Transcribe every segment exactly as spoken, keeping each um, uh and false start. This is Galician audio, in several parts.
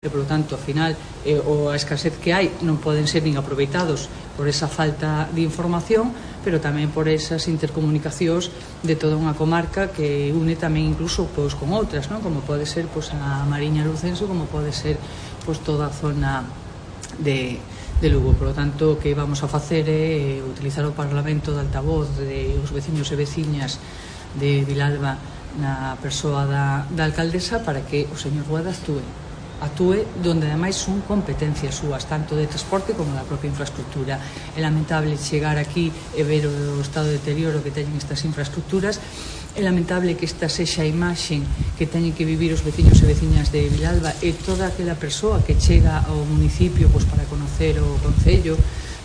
E, polo tanto, ao final, eh, o a escasez que hai non poden ser nin aproveitados por esa falta de información, pero tamén por esas intercomunicacións de toda unha comarca que une tamén incluso pois, con outras, non? Como pode ser pois, a Mariña Lucense, como pode ser pois, toda a zona de, de Lugo. Por lo tanto, o que vamos a facer é utilizar o Parlamento de altavoz de os veciños e veciñas de Vilalba na persoa da, da alcaldesa para que o señor Rueda actúe actúe donde ademais son competencias súas, tanto de transporte como da propia infraestructura. É lamentable chegar aquí e ver o estado de deterioro que teñen estas infraestructuras. É lamentable que esta sexa a imaxen que teñen que vivir os veciños e veciñas de Vilalba e toda aquela persoa que chega ao municipio pois, para conocer o concello,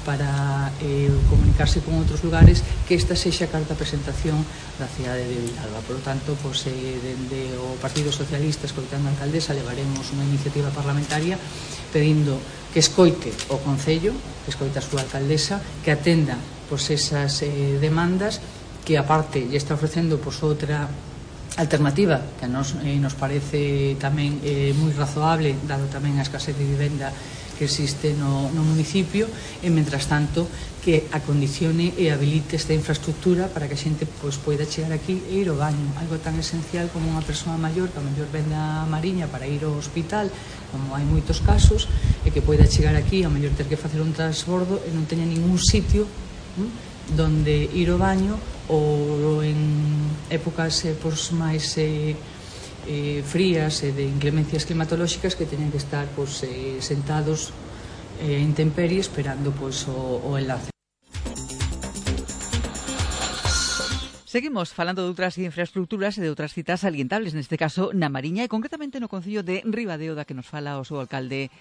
para eh, comunicarse con outros lugares, que esta sexa a carta de presentación da cidade de Vilalba. Por lo tanto, pois, eh, dende o Partido Socialista, escoitando a alcaldesa, levaremos unha iniciativa parlamentaria pedindo que escoite o Concello, que escoite a súa alcaldesa, que atenda pois, esas eh, demandas, que aparte lle está ofrecendo pois, outra alternativa que a nos, eh, nos parece tamén eh, moi razoable, dado tamén a escasez de vivenda que existe no, no municipio, e, mentras tanto, que acondicione e habilite esta infraestructura para que a xente pois, poida chegar aquí e ir ao baño, algo tan esencial como unha persoa maior que a mellor vende a Mariña para ir ao hospital, como hai moitos casos, e que poida chegar aquí, a mellor ter que facer un transbordo e non teña ningún sitio hm, donde ir ao baño, ou en épocas eh, pois, máis eh, eh, frías e de inclemencias climatolóxicas que teñen que estar pois, eh, sentados eh, en intemperie esperando pois, o, o enlace. Seguimos falando de outras infraestructuras e de outras citas salientables, neste caso na Mariña e concretamente no concello de Ribadeo, da que nos fala o seu alcalde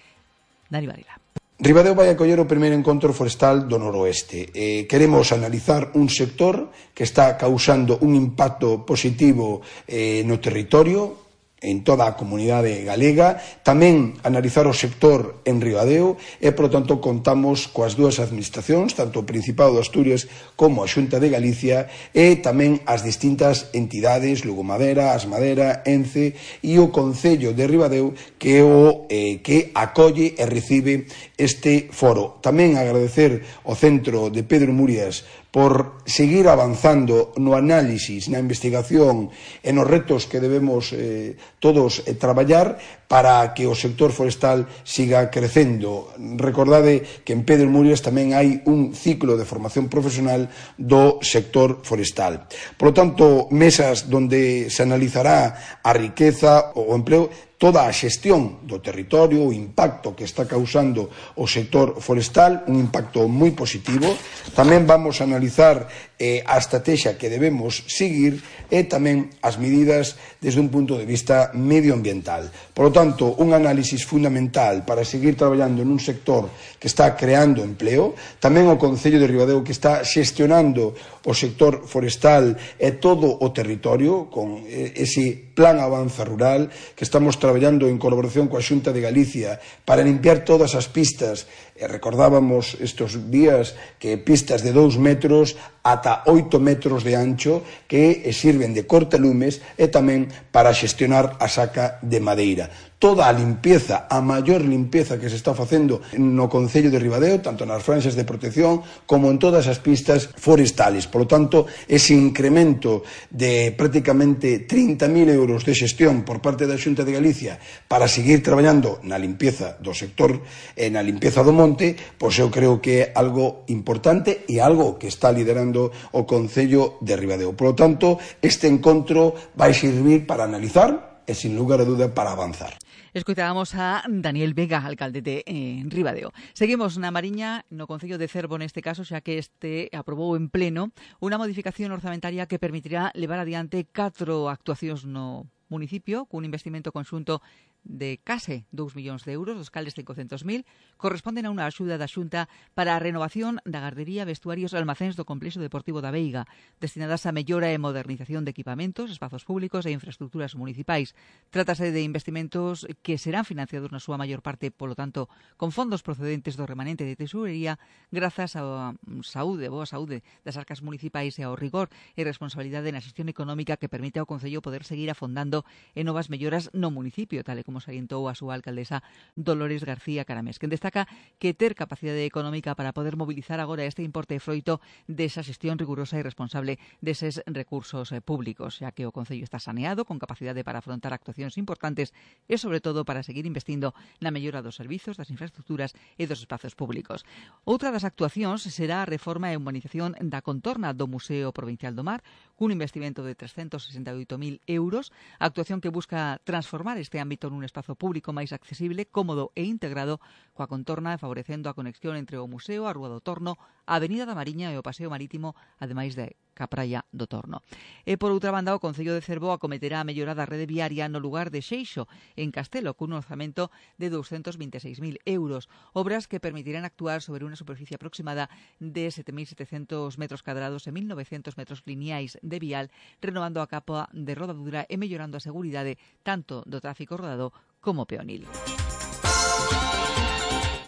Dani Varela. Ribadeo vai acoller o primeiro encontro forestal do noroeste. Eh, queremos analizar un sector que está causando un impacto positivo eh, no territorio, en toda a comunidade galega, tamén analizar o sector en Ribadeo e, por lo tanto, contamos coas dúas administracións, tanto o Principado de Asturias como a Xunta de Galicia e tamén as distintas entidades, Lugo Madera, As Madera, Ence e o Concello de Ribadeo que o eh, que acolle e recibe este foro. Tamén agradecer ao Centro de Pedro Murias por seguir avanzando no análisis, na investigación e nos retos que debemos eh, todos eh, traballar para que o sector forestal siga crecendo. Recordade que en Pedro Murias tamén hai un ciclo de formación profesional do sector forestal. Por lo tanto, mesas donde se analizará a riqueza, o empleo, toda a xestión do territorio, o impacto que está causando o sector forestal, un impacto moi positivo. Tamén vamos a analizar eh, a estrategia que debemos seguir e tamén as medidas desde un punto de vista medioambiental. Por lo tanto, un análisis fundamental para seguir traballando nun sector que está creando empleo, tamén o Concello de Ribadeo que está xestionando o sector forestal e todo o territorio con ese plan Avanza Rural que estamos traballando en colaboración coa Xunta de Galicia para limpiar todas as pistas. E recordábamos estes días que pistas de dous metros ata oito metros de ancho que sirven de cortalumes e tamén para xestionar a saca de madeira. Toda a limpieza, a maior limpieza que se está facendo no Concello de Ribadeo, tanto nas franxas de protección como en todas as pistas forestales. Por lo tanto, ese incremento de prácticamente trinta mil euros de xestión por parte da Xunta de Galicia para seguir traballando na limpieza do sector e na limpieza do monte, pois eu creo que é algo importante e algo que está liderando o Concello de Ribadeo. Por lo tanto, este encontro vai servir para analizar e, sin lugar a duda, para avanzar. Escoitábamos a Daniel Vega, alcalde de eh, Ribadeo. Seguimos na Mariña, no Concello de Cervo neste caso, xa que este aprobou en pleno unha modificación orzamentaria que permitirá levar adiante catro actuacións no municipio cun investimento conxunto de case dous millóns de euros, dos cales cincocentos mil, corresponden a unha axuda da Xunta para a renovación da gardería, vestuarios e almacéns do complexo deportivo da Veiga, destinadas a mellora e modernización de equipamentos, espazos públicos e infraestructuras municipais. Trátase de investimentos que serán financiados na súa maior parte, polo tanto, con fondos procedentes do remanente de tesorería, grazas á saúde, boa saúde das arcas municipais e ao rigor e responsabilidade na xestión económica que permite ao Concello poder seguir afondando en novas melloras no municipio, tal e como como salientou a súa alcaldesa Dolores García Caramés, que destaca que ter capacidade económica para poder mobilizar agora este importe froito desa xestión rigurosa e responsable deses recursos públicos, xa que o Concello está saneado, con capacidade para afrontar actuacións importantes e, sobre todo, para seguir investindo na mellora dos servizos, das infraestructuras e dos espazos públicos. Outra das actuacións será a reforma e humanización da contorna do Museo Provincial do Mar, cun investimento de trescentos sesenta e oito mil euros, actuación que busca transformar este ámbito nun espazo público máis accesible, cómodo e integrado coa contorna, favorecendo a conexión entre o Museo, a Rúa do Torno, a Avenida da Mariña e o Paseo Marítimo, ademais de ca praia do Torno. E, por outra banda, o Concello de Cervo acometerá a mellora da rede viaria no lugar de Xeixo, en Castelo, cun orzamento de douscentos vinte e seis mil euros, obras que permitirán actuar sobre unha superficie aproximada de sete mil setecentos metros cadrados e mil novecientos metros lineais de vial, renovando a capa de rodadura e mellorando a seguridade tanto do tráfico rodado como peonil.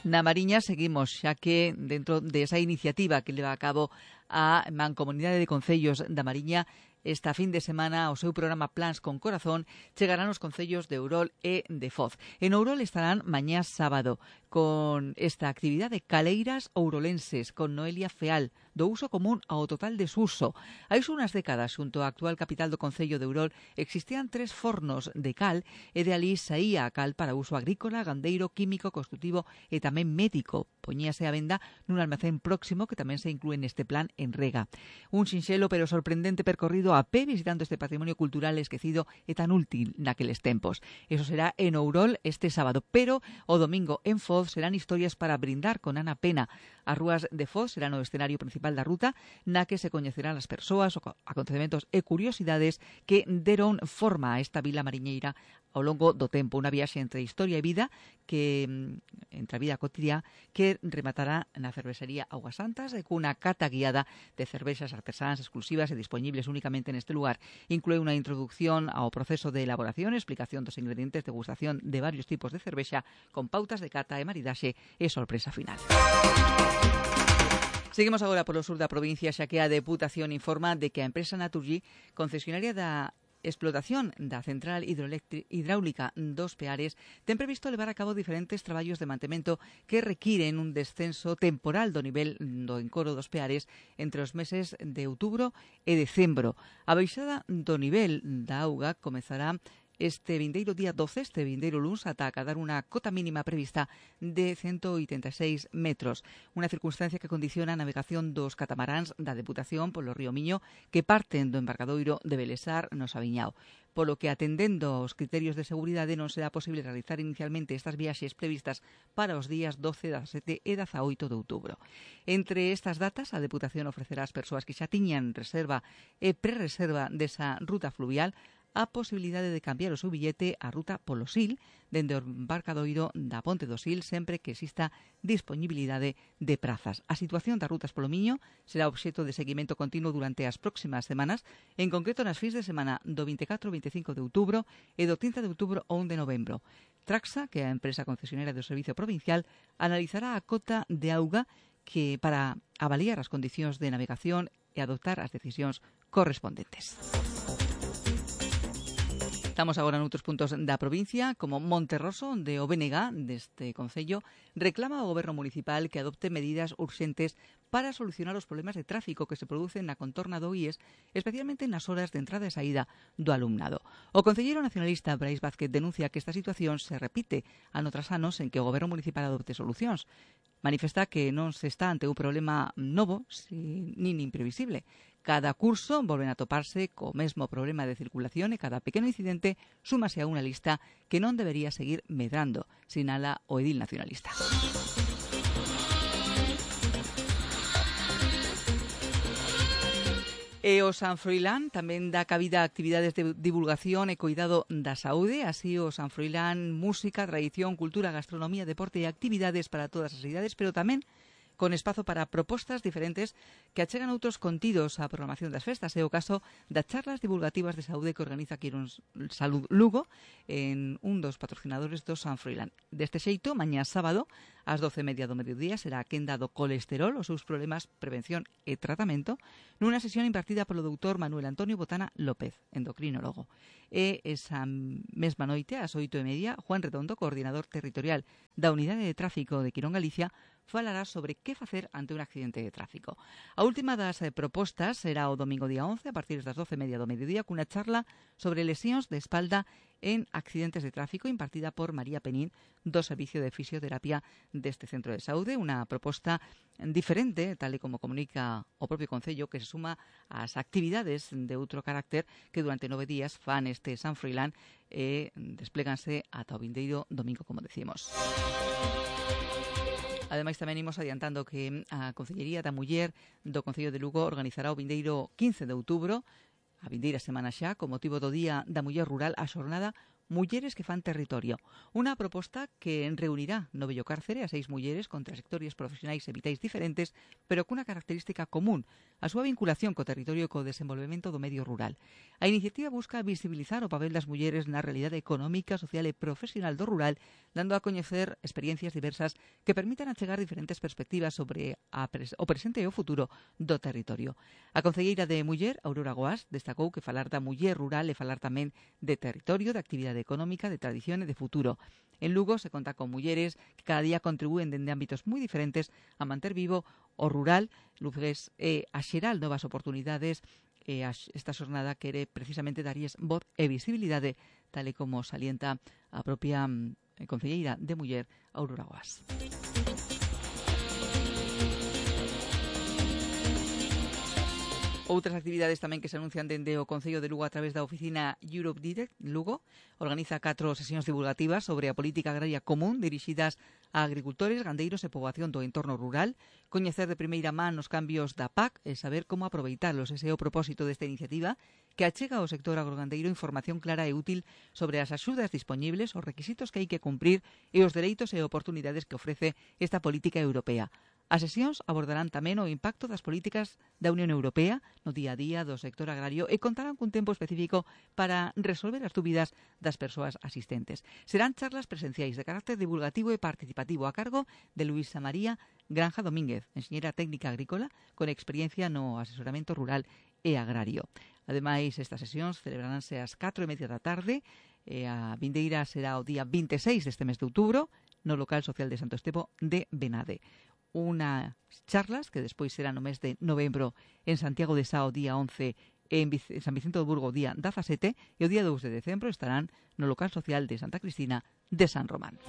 Na Mariña seguimos, xa que dentro de esa iniciativa que leva a cabo a Mancomunidade de Concellos da Mariña, esta fin de semana o seu programa Plans con Corazón chegarán os concellos de Ourol e de Foz. En Ourol estarán mañá sábado con esta actividade Caleiras ourolenses con Noelia Feal, do uso común ao total desuso. Hai unhas décadas, xunto á actual capital do Concello de Ourol, existían tres fornos de cal e de alí saía a cal para uso agrícola, gandeiro, químico, construtivo e tamén médico. Poñíase a venda nun almacén próximo que tamén se inclúe neste plan en Rega. Un sinxelo pero sorprendente percorrido a pé visitando este patrimonio cultural esquecido e tan útil naqueles tempos. Eso será en Ourol este sábado, pero o domingo en Foz serán historias para brindar con Ana Pena. As rúas de Foz serán o escenario principal da ruta, na que se coñecerán as persoas, acontecementos e curiosidades que deron forma a esta vila mariñeira ao longo do tempo. Unha viaxe entre historia e vida, que entre a vida cotidiá, que rematará na cervexería Augas Santas e cunha cata guiada de cervexas artesáns exclusivas e disponibles únicamente neste lugar. Inclúe unha introducción ao proceso de elaboración, explicación dos ingredientes, degustación de varios tipos de cervexa, con pautas de cata e maridaxe e sorpresa final. Seguimos agora polo sur da provincia, xa que a Deputación informa de que a empresa Naturgy, concesionaria da explotación da central hidráulica dos Peares, ten previsto levar a cabo diferentes traballos de mantemento que requiren un descenso temporal do nivel do encoro dos Peares entre os meses de outubro e decembro. A baixada do nivel da auga comezará este vindeiro día doce, este vindeiro luns, ata acadar unha cota mínima prevista de ciento oitenta e seis metros. Unha circunstancia que condiciona a navegación dos catamaráns da Deputación polo río Miño que parten do embarcadoiro de Belesar no Sabiñao, polo que atendendo aos criterios de seguridade non será posible realizar inicialmente estas viaxes previstas para os días doce, dezasete e dezaoito de outubro. Entre estas datas, a Deputación ofrecerá ás persoas que xa tiñan reserva e prerreserva desa ruta fluvial a posibilidade de cambiar o seu billete á ruta polo Sil, dende o embarcadoiro da Ponte do Sil, sempre que exista disponibilidade de prazas. A situación das rutas polo Miño será obxecto de seguimento continuo durante as próximas semanas, en concreto nas fins de semana do vinte e catro e vinte e cinco de outubro e do trinta de outubro ao un de novembro. Traxa, que é a empresa concesionaria do Servicio Provincial, analizará a cota de auga que para avaliar as condicións de navegación e adoptar as decisións correspondentes. Estamos agora noutros puntos da provincia, como Monterroso, onde o B N G deste Concello reclama ao Goberno Municipal que adopte medidas urxentes para solucionar os problemas de tráfico que se producen na contorna do I E S, especialmente nas horas de entrada e saída do alumnado. O concelleiro nacionalista Brais Vázquez denuncia que esta situación se repite ano tras anos en que o Goberno Municipal adopte solucións. Manifesta que non se está ante un problema novo, nin imprevisible. Cada curso volven a toparse co mesmo problema de circulación e cada pequeno incidente súmase a unha lista que non debería seguir medrando, sinala o edil nacionalista. E o San Froilán tamén dá cabida a actividades de divulgación e cuidado da saúde, así o San Froilán, música, tradición, cultura, gastronomía, deporte e actividades para todas as idades, pero tamén con espazo para propostas diferentes que achegan outros contidos á programación das festas. É o caso das charlas divulgativas de saúde que organiza Quirón Salud Lugo en un dos patrocinadores do San Froilán. Deste xeito, mañá sábado, Ás doce e media do mediodía será a quenda do colesterol, os seus problemas, prevención e tratamento, nunha sesión impartida polo doutor Manuel Antonio Botana López, endocrinólogo. E esa mesma noite, ás oito e media, Juan Redondo, coordinador territorial da Unidade de Tráfico de Quirón Galicia, falará sobre que facer ante un accidente de tráfico. A última das eh, propostas será o domingo día once, a partir das doce e media do mediodía, cunha charla sobre lesións de espalda en accidentes de tráfico impartida por María Penín do Servicio de Fisioterapia deste centro de saúde, unha proposta diferente, tal e como comunica o propio Concello, que se suma ás actividades de outro carácter que durante nove días fan este San Froilán e despléganse ata o vindeiro domingo, como decimos. Ademais, tamén imos adiantando que a Concellería da Muller do Concello de Lugo organizará o vindeiro quince de outubro, a vindeira semana xa, con motivo do Día da Muller Rural, a xornada Mulleres que fan territorio. Unha proposta que reunirá no Bello Cárcere a seis mulleres con trayectorias profesionais e vitais diferentes, pero cunha característica común, a súa vinculación co territorio e co desenvolvemento do medio rural. A iniciativa busca visibilizar o papel das mulleres na realidade económica, social e profesional do rural, dando a coñecer experiencias diversas que permitan achegar diferentes perspectivas sobre a pres- o presente e o futuro do territorio. A concelleira de Muller, Aurora Goás, destacou que falar da muller rural e falar tamén de territorio, de actividade económica, de tradición e de futuro. En Lugo se conta con mulleres que cada día contribúen dende ámbitos moi diferentes a manter vivo o rural, lugués e a xeral novas oportunidades, e esta xornada quere precisamente darlles voz e visibilidade, tal e como salienta a propia concelleira de Muller, Aurora Goás. Outras actividades tamén que se anuncian dende o Concello de Lugo a través da oficina Europe Direct Lugo. Organiza catro sesións divulgativas sobre a política agraria común dirixidas a agricultores, gandeiros e poboación do entorno rural, coñecer de primeira man os cambios da P A C e saber como aproveitalos. Ese é o propósito desta iniciativa, que achega ao sector agrogandeiro información clara e útil sobre as axudas dispoñibles, os requisitos que hai que cumprir e os dereitos e oportunidades que ofrece esta política europea. As sesións abordarán tamén o impacto das políticas da Unión Europea no día a día do sector agrario e contarán cun tempo específico para resolver as dúbidas das persoas asistentes. Serán charlas presenciais de carácter divulgativo e participativo a cargo de Luisa María Granja Domínguez, enxeñera técnica agrícola con experiencia no asesoramento rural e agrario. Ademais, estas sesións celebraránse ás catro e media da tarde e a vindeira será o día vinte e seis deste mes de outubro no local social de Santo Estevo de Benade. Unas charlas que despois será no mes de novembro en Santiago de Sá o día once e en San Vicente do Burgo o día dezasete e o día dous de decembro estarán no local social de Santa Cristina de San Román.